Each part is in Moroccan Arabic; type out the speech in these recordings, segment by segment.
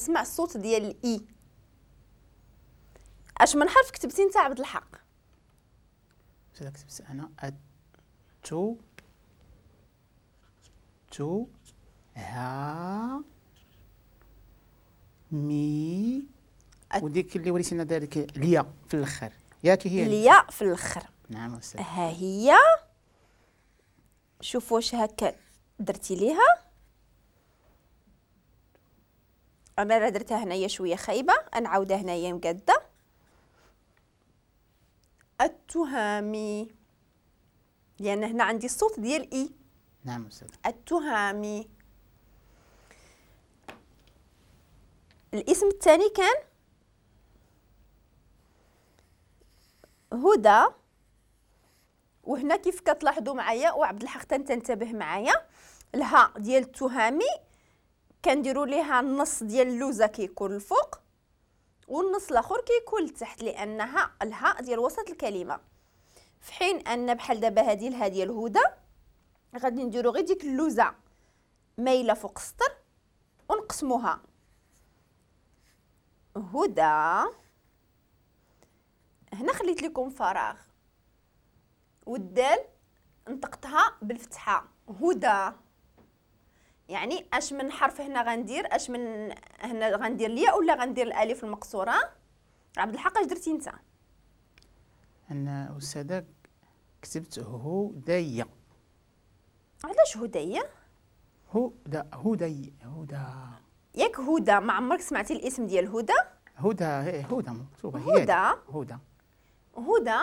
كنسمع الصوت ديال الاي. اش من حرف كتبتي انت عبد الحق؟ كتبت انا التو تو ها مي، وديك اللي وريتينا ذلك اليا في الاخر، ياك هي اليا في الاخر. نعم أستاذ. ها هي، شوف واش هكا درتي ليها. انا راه درتها هنايا شوية خايبة، نعاودها هنايا مقاده. التهامي، لان هنا عندي الصوت ديال اي. نعم أستاذ. التهامي. الاسم الثاني كان هدى، وهنا كيف كتلاحظوا معايا وعبد الحق تنتبه معايا، الها ديال التهامي كنديروا ليها النص ديال اللوزه كيكون الفوق والنص الاخر كيكون لتحت، لانها الها ديال وسط الكلمة. في حين ان بحال دابا هذه الها ديال هدى غادي نديروا غير ديك اللوزه مايلة فوق السطر ونقسموها هدى. هنا خليت لكم فراغ، والدال نطقتها بالفتحة هدى. يعني اش من حرف هنا غندير؟ اش من هنا غندير الياء ولا غندير الالف المقصورة؟ عبد الحق اش درتي انت؟ انا استاذه كتبت هدية. علاش هدية؟ هدى هدي هدى، ياك هدى؟ ما عمرك سمعتي الاسم ديال هدى؟ هدى هدى مكتوبة هدى. هدى هدى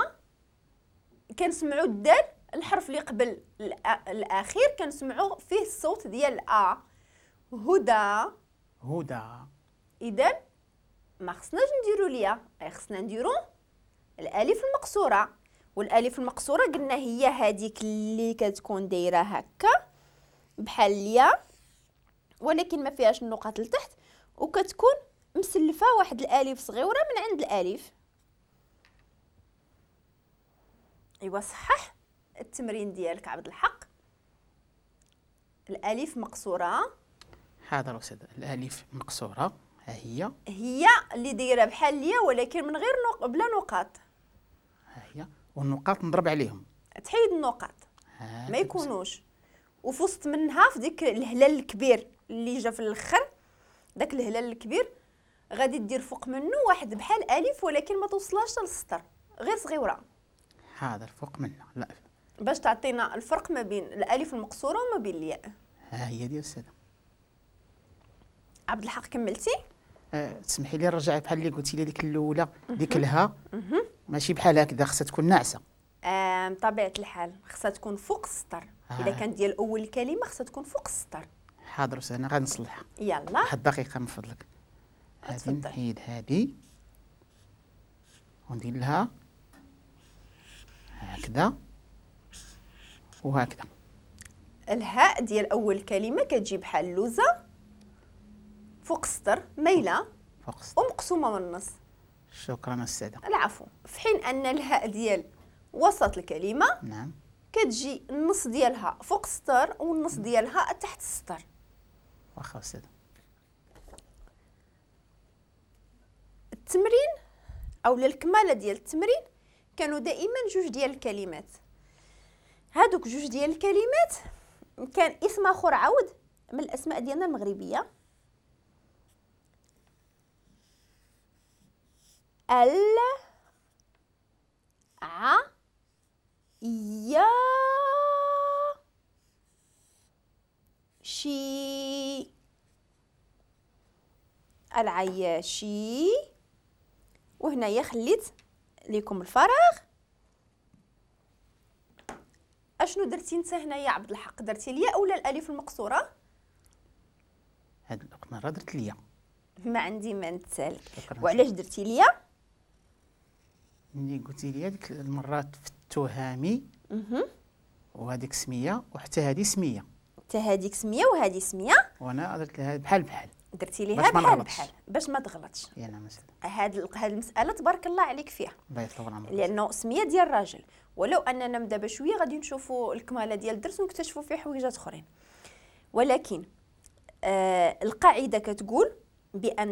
كنسمعوا الدال، الحرف اللي قبل الاخير كنسمعوا فيه الصوت ديال ا. هدى هدى. اذا ما خصناش نديروا ليا، خصنا نديروا الالف المقصورة. والالف المقصورة قلنا هي هذيك اللي كتكون دايرة هكا بحال اليا، ولكن ما فيهاش النقاط لتحت، وكتكون مسلفه واحد الالف صغيرة من عند الالف. ايوا صحح التمرين ديالك عبد الحق. الالف مقصورة. حاضر استاذ. الالف مقصورة ها هي، هي اللي دايرة بحال اليا ولكن من غير بلا نقاط. ها هي، والنقاط نضرب عليهم، تحيد النقاط ما يكونوش. وفي وسط منها في ديك الهلال الكبير اللي جا في الاخر، داك الهلال الكبير غادي دير فوق منه واحد بحال الف ولكن ما توصلهاش للسطر، غير صغيرة. حاضر، فوق منه لا، باش تعطينا الفرق ما بين الالف المقصورة وما بين الياء. ها هي ديال السادة. عبد الحق كملتي؟ تسمحي لي نرجع بحال اللي قلتي لي ديك الاولى، ديك الها ماشي بحال هكذا، خصها تكون ناعسه. بطبيعة الحال خصها تكون فوق السطر. اذا كانت ديال اول كلمة خصها تكون فوق السطر. حاضر استاذ، انا غنصلحها. يلا واحد الدقيقة من فضلك. غادي نحيد هذه وندير لها هكذا وهكذا. الهاء ديال اول كلمة كتجي بحال اللوزه فوق السطر مايلة فوق السطر ومقسومه من النص. شكرا استاذه. العفو. في حين ان الهاء ديال وسط الكلمة نعم كتجي النص ديالها فوق السطر والنص ديالها تحت السطر. واخا استاذه. التمرين او الكماله ديال التمرين كانوا دائما جوج ديال الكلمات. هادوك جوج ديال الكلمات كان اسم اخر عاود من الاسماء ديالنا المغربية، ال ع يا شي، العياشي. وهنايا خليت لكم الفراغ. اشنو درتي انت هنايا عبد الحق؟ درتي الياء ولا الالف المقصورة؟ هاد المرة درت الياء. ما عندي ما نتسالك. وعلاش درتي الياء؟ ملي قلتي لي ديك المرات في التهامي وهذيك سميه وحتى هذه سميه، حتى هذيك سميه وهذه سميه، وانا درت لها بحال بحال. درتي ليها بحال بحال باش ما تغلطش. يا نعم أستاذ. هاد المسالة تبارك الله عليك فيها. الله يطول عمرك. لانه سميه ديال الراجل، ولو اننا من دابا شوية غادي نشوفوا الكماله ديال الدرس ونكتشفوا فيه حويجات اخرين، ولكن القاعدة كتقول بان